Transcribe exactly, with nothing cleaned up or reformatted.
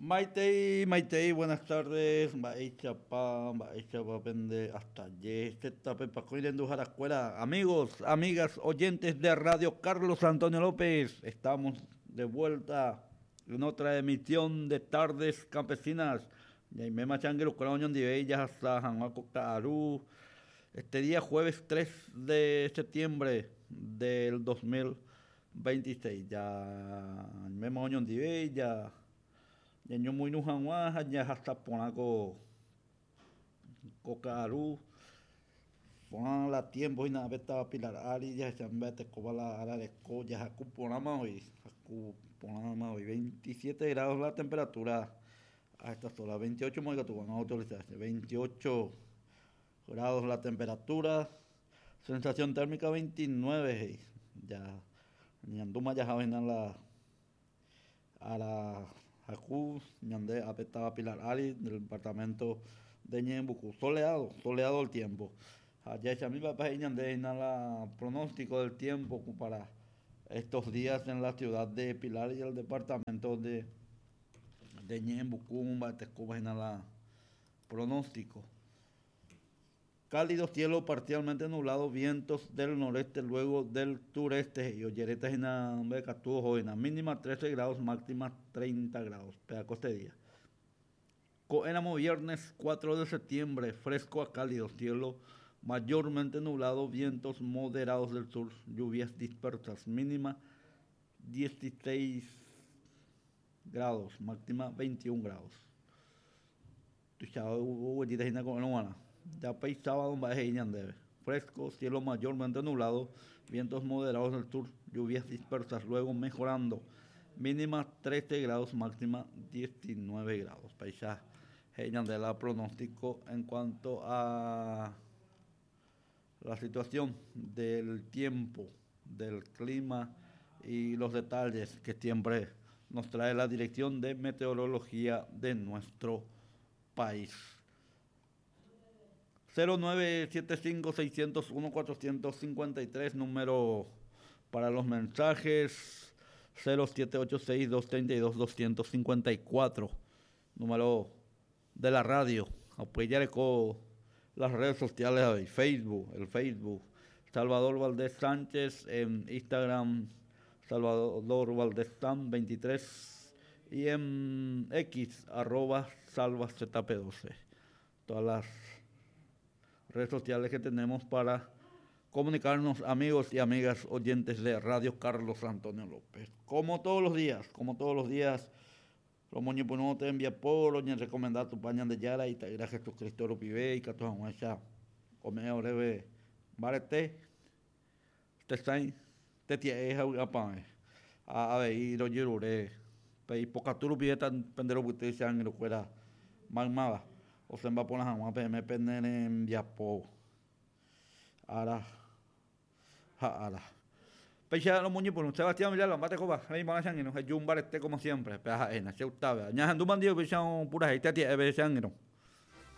Maitei, Maitei, buenas tardes. Mba'éichapa, mba'éichapa pende asaje, amigos, amigas, oyentes de Radio Carlos Antonio López. Estamos de vuelta en otra emisión de Tardes Campesinas. Este día jueves tres de septiembre del dos mil veintiséis. Ya ya ya hasta ponaco cocaru pon la tiempo y nada beta Pilar Ari ya se mete la ara de ya jacu hoy hoy veintisiete grados la temperatura a estas horas, veintiocho veintiocho grados la temperatura, sensación térmica veintinueve, ya ñanduma ya javen la a la Jacu, ñande apetaba Pilar Ari del departamento de Ñeembucú, soleado, soleado el tiempo. Allá ya mi papá y ñande la pronóstico del tiempo para estos días en la ciudad de Pilar y el departamento de de Ñeembucú, la pronóstico. Cálido cielo parcialmente nublado, vientos del noreste, luego del sureste. Y olleretas en la mínima trece grados, máxima treinta grados. Pedaco este día. Éramos viernes cuatro de septiembre, fresco a cálido, cielo mayormente nublado, vientos moderados del sur, lluvias dispersas, mínima dieciséis grados, máxima veintiún grados. Ya sábado fresco, cielo mayormente nublado, vientos moderados del sur, lluvias dispersas, luego mejorando, mínima trece grados, máxima diecinueve grados. Paisaje de la pronóstico en cuanto a la situación del tiempo, del clima y los detalles que siempre nos trae la Dirección de Meteorología de nuestro país. cero nueve siete cinco seiscientos uno cuatrocientos cincuenta y tres, número para los mensajes, cero siete ocho seis dos treinta y dos doscientos cincuenta y cuatro, número de la radio. Apoyar con las redes sociales, Facebook, el Facebook, Salvador Valdés Sánchez, en Instagram, Salvador Valdés San veintitrés, y en X, arroba Salva Z P doce. Todas las redes sociales que tenemos para comunicarnos, amigos y amigas oyentes de Radio Carlos Antonio López. Como todos los días, como todos los días, los moños no te envía por, ni recomendar tu pañan de Yara y te irá Jesucristo lo pibe y que tu aguacha come orebe barete te sain te tie a a ver y lo yerure pe pocaturu pide tan pendero que te sean lo cuera magmaba o se va por las aguas P M P N viapo ara ja ara Pecha los muñecos, por Sebastián Villalba, mate coba, ahí van a ser, no, yo un barete como siempre, pero en la ciudad, ya ando bandido, pecha pura gente, tía, pecha no.